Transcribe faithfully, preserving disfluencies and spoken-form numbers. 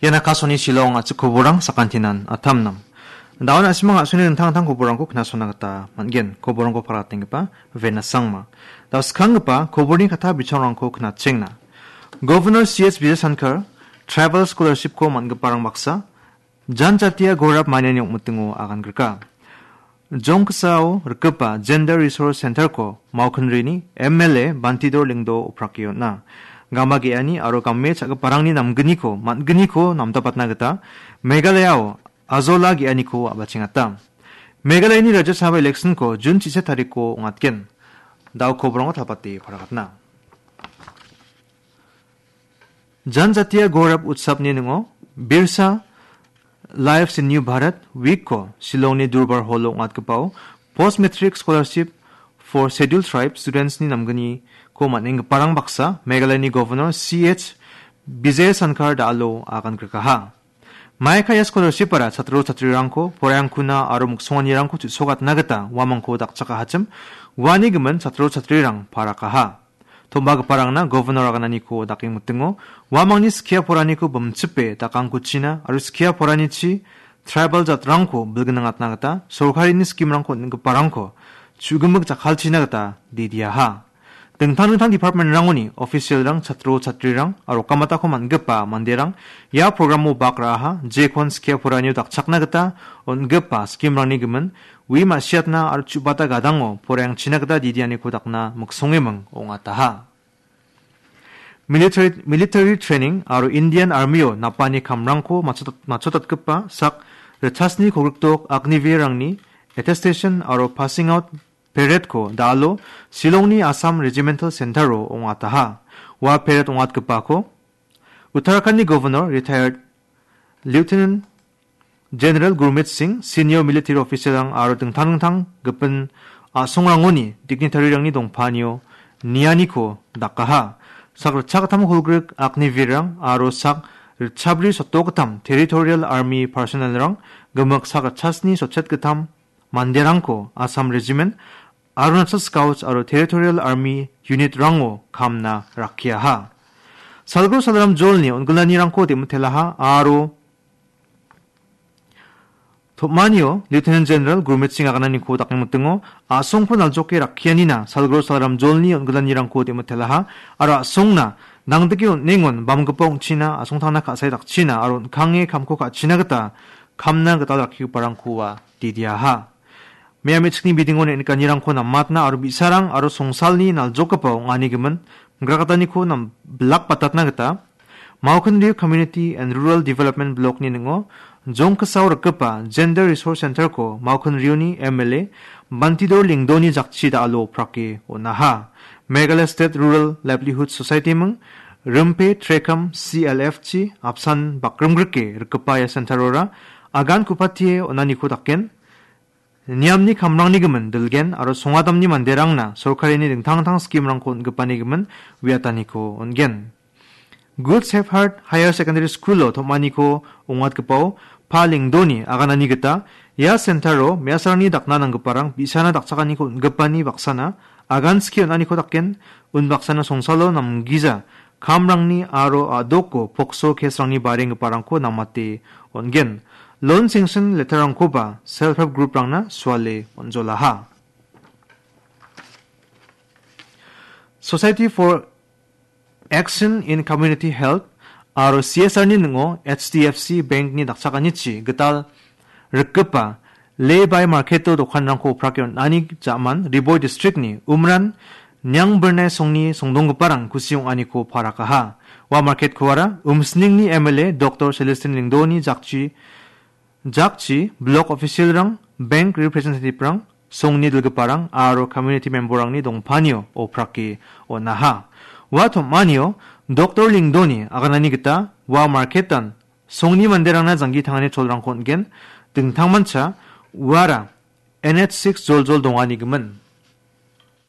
Ian Akashvani Shillong a·chik koborang sakantinan atamnam. Daun a·simang a·songni dingtang dingtang koborangko knasona gita man·gen. Koborangko paratenggipa Vena Sangma. Dao skanggipa koborni kata bichongrangko knatchengna. Governor C H Vijayasankar Travel Scholarship-ko man·giparang baksa Janjatiya Gaurav maniani ong·mitingo agangrika. Jongksao rikgipa Gender Resource Center-ko Maukinrini M L A Bantidor Lingdo oprake on·a. Gama ge·ani aro game cha·giparangni namgniko, man·gniko namdapatna gita Meghalayao ajola ge·aniko a·bachengata. Meghalayani Rajya Sabha election-ko Jun chise tarikko ong·atgen. Dao koborangko talpate paragatna. Janjatiya Gaurav Utsavni ningo Birsa Lives in New Bharat Week-ko Shillongni Durbar Hall-o ong·atgipao Post Matric Scholarship for Scheduled Tribe Students-ni namgniko man·enggiparang baksa Meghalayani Governor C H Vijayasankar Dalo agangrikaha. Maikaya scholarship-ara chatro chatrirangko poraiangkuna aro miksonganirangko chu·sokatna gita uamangko dakchakahachim, uani gimin chatro chatrirang parakaha. Tom·bagiparangna Governor agananiko dakengmitingo uamangni skia poraniko bimchipe dakangkuchina aro skia poranichi tribal jatrangko bilgniatna gita sorkarini scheme-rangko on·giparangko chu·gimik jakkalchina gita didiaha. Dingtang dingtang department-rangoni official-rang, chatro chatrirang aro kamatako man·gipa manderang ia program-o bak ra·aha, jekon skia poranio dakchakna gita on·gipa scheme-rangni gimin ui ma·siatna aro chu·bata gadango poraiangchina gita didianiko dakna miksongeming ong·ataha. Military, military training aro Indian Army-o napani kamrangko matchotat-, matchotatgipa sak ritchasni kolgrikdok Agniveer-rangni attestation aro passing out parade-ko Dalo Shillongni Assam Regimental Center-o ong·ataha. Ua parade ong·atgipako Uttarakhand-ni Governor retired Lieutenant General Gurmeet Singh, senior military official-rang aro dingtang dingtang gipin a·songrangoni dignitary-rangni dongpanio nianiko dakaha. Sak ritchakgittam kolgrik Agniveer-rang aro sak ritchabri sotdokgittam Territorial Army personnel-rang gimik sak ritchasni sotchetgittam manderangko Assam Regiment, Arunachal Scouts aro Territorial Army Unit-rango kamna rakkiaha. Salgro salram jolni on·gilanirangko dem·atelaha aro tom·anio Lieutenant General Gurmeet Singh agananiko dakengmitingo a·songko naljoke rakkianina salgro salram jolni on·gilanirangko dem·atelaha aro a·songna nangdike on·engon bamgipa ong·china a·songtangna ka·sae dakchina aro on·kange kamko ka·china gita kamna gital rakkigiparangkoa didiaha. Mia me·chikni bidingo ne·nikanirangko namatna aro bi·sarang aro songsalni naljokgipa ong·ani gimin mingrakgitaniko nam-, bilakbatatna gita Maukinriu Community and Rural Development Block-ni ning·o Jongkisao rikgipa Gender Resource Center-ko Maukinriuni M L A Bantidor Lingdoni jakchi da·alo oprake on·aha. Meghalaya State Rural Livelihood Society-ming Rimpe Trekam C L F-chi apsan bakrimgrike rikgipa ia center-ora agan ku·patie on·aniko daken niamni kamrangni gimin dilgen aro songadamni manderangna sorkarini dingtang dingtang scheme-rangko on·gipani gimin uiataniko on·gen. Good Shepherd Higher Secondary School-o tom·aniko ong·atgipao Pa Lingdoni aganani gita ia center-o me·asarangni dakna nanggiparang bi·sana dakchakaniko on·gipani baksana agan skie on·aniko daken unbaksana songsalo namgija kamrangni aro a·doko pokso case-rangni barenggiparangko namate on·gen. Loan sanction letter-rangkoba self help group-rangna suale on·jolaha. Society for Action in Community Health aro C S R-ni ning·o H D F C Bank-ni dakchakanichi gital rikgipa Lay by Market-o dokanrangko oprake on·ani ja·man Ri Bhoi District-ni Umran Niangbirnai songni songdonggiparang kusi ong·aniko parakaha. Ua market-koara Umsningni M L A Doctor Celestine Lingdoni jakchi, jakchi, block official-rang, bank representative-rang, songni dilgiparang aro community member-rangni dongpanio oprake on·aha. Ua tom·anio Doctor Lingdoni aganani gita ua market-an songni manderangna janggi tangani cholrangko on·gen, dingtangmancha uara N H six joljol dongani gimin.